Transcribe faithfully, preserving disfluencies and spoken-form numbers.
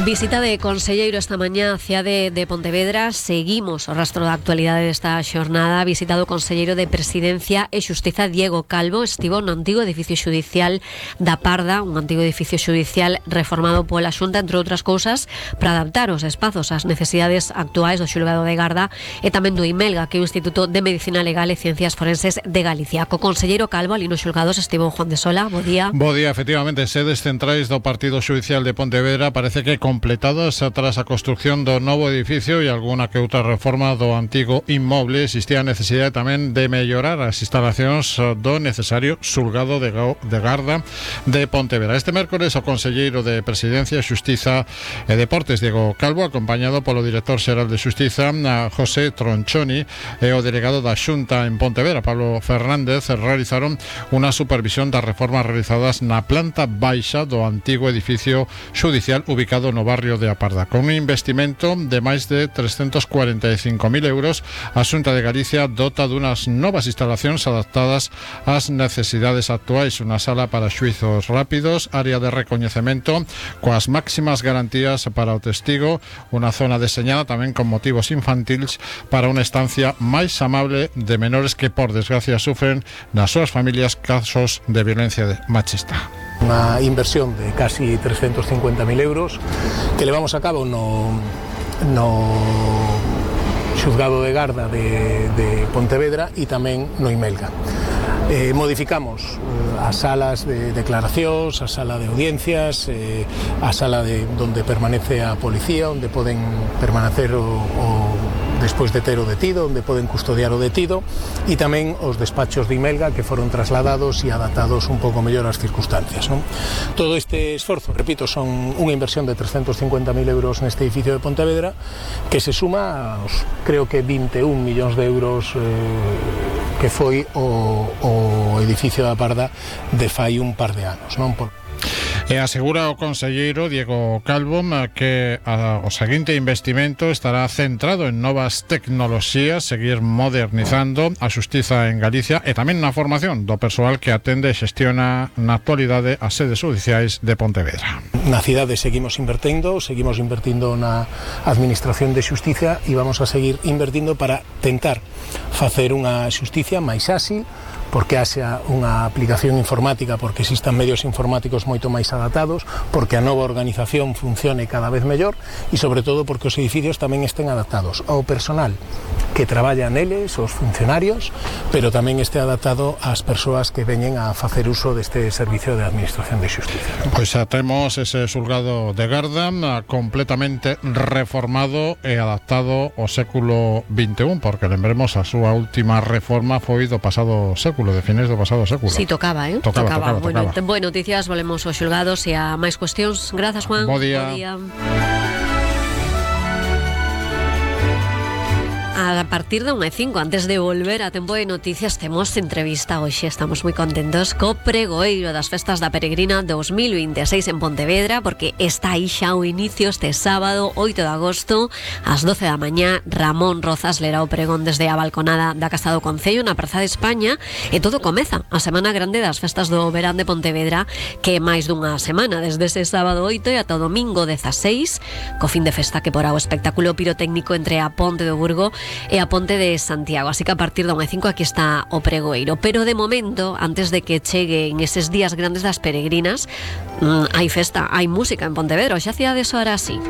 Visita de conselleiro esta mañá á cidade de Pontevedra. Seguimos o rastro da actualidade desta xornada. Visitado o conselleiro de Presidencia e Xustiza Diego Calvo. Estivo no antigo edificio xudicial da Parda, un antigo edificio xudicial reformado pola Xunta, entre outras cousas, para adaptar os espazos ás necesidades actuais do xulgado de Garda e tamén do IMELGA, que é o Instituto de Medicina Legal e Ciencias Forenses de Galicia. Co conselleiro Calvo, ali nos xulgados, estivo Juan de Sola. Bo día. Bo día, efectivamente, sedes centrais do Partido Xudicial de Pontevedra parece que completadas tras a construción do novo edificio e alguna que outra reforma do antigo inmoble. Existía a necesidade tamén de mellorar as instalacións do necesario xulgado de, de Garda de Pontevedra. Este mércores o conselleiro de Presidencia, Xustiza e Deportes, Diego Calvo, acompañado polo director xeral de Xustiza, José Tronchoni, e o delegado da Xunta en Pontevedra, Pablo Fernández, realizaron unha supervisión das reformas realizadas na planta baixa do antigo edificio xudicial ubicado no barrio de Aparda. Con un investimento de máis de trescentos cuarenta e cinco mil euros, a Xunta de Galicia dota dunhas novas instalacións adaptadas ás necesidades actuais, unha sala para xuizos rápidos, área de recoñecemento coas máximas garantías para o testigo, unha zona deseñada tamén con motivos infantiles para unha estancia máis amable de menores que, por desgracia, sufren nas súas familias casos de violencia machista. Unha inversión de casi trescentos cincuenta mil euros que levamos a cabo no, no xuzgado de Garda de, de Pontevedra e tamén no IMELGA. Eh, modificamos eh, as salas de declaracións, a sala de audiencias, eh, a sala de donde permanece a policía, onde poden permanecer o, o despois de ter o detido, onde poden custodiar o detido, e tamén os despachos de IMELGA que foron trasladados e adaptados un pouco mellor ás circunstancias, non? Todo este esforzo, repito, son unha inversión de trescentos cincuenta mil euros neste edificio de Pontevedra que se suma aos, creo que vinte e un millóns de euros eh, que foi o, o edificio da Parda de fai un par de anos, non? Por... E asegura o conselleiro Diego Calvo que a, o seguinte investimento estará centrado en novas tecnoloxías, seguir modernizando a xustiza en Galicia e tamén na formación do persoal que atende e xestiona na actualidade as sedes judiciais de Pontevedra. Na cidade seguimos invertendo, seguimos invertindo na administración de xustiza e vamos a seguir invertindo para tentar facer unha xustiza máis áxil, porque haxa unha aplicación informática, porque existan medios informáticos moito máis adaptados, porque a nova organización funcione cada vez mellor e, sobre todo, porque os edificios tamén estén adaptados ao personal que traballa neles, os funcionarios, pero tamén este adaptado ás persoas que veñen a facer uso deste servicio de administración de xustiza. Pois xa temos ese xulgado de Garda completamente reformado e adaptado ao século vinte e un, porque lembremos a súa última reforma foi do pasado século, de fines do pasado século. Sí, tocaba, eh? Tocaba, tocaba, tocaba. Bueno, tocaba. Boas noticias, volvemos aos xulgados e a máis cuestións. Grazas, Juan. Bo día. Bo día. A partir de unha e cinco, antes de volver a Tempo de Noticias, temos entrevista hoxe. Estamos moi contentos co pregoeiro das festas da Peregrina dos mil vinte e seis en Pontevedra, porque está aí xa o inicio este sábado, oito de agosto, ás doce da mañá. Ramón Rozas lerá o pregón desde a balconada da Casa do Concello na Praza de España, e todo comeza a Semana Grande das Festas do Verán de Pontevedra, que é máis dunha semana, desde ese sábado oito e ata o domingo dezaseis, co fin de festa que porá o espectáculo pirotécnico entre a Ponte do Burgo e a Ponte de Santiago. Así que a partir da unha e cinco aquí está o pregoeiro. Pero de momento, antes de que cheguen eses días grandes das peregrinas, mmm, hai festa, hai música en Pontevedra. Xa cidade soará así.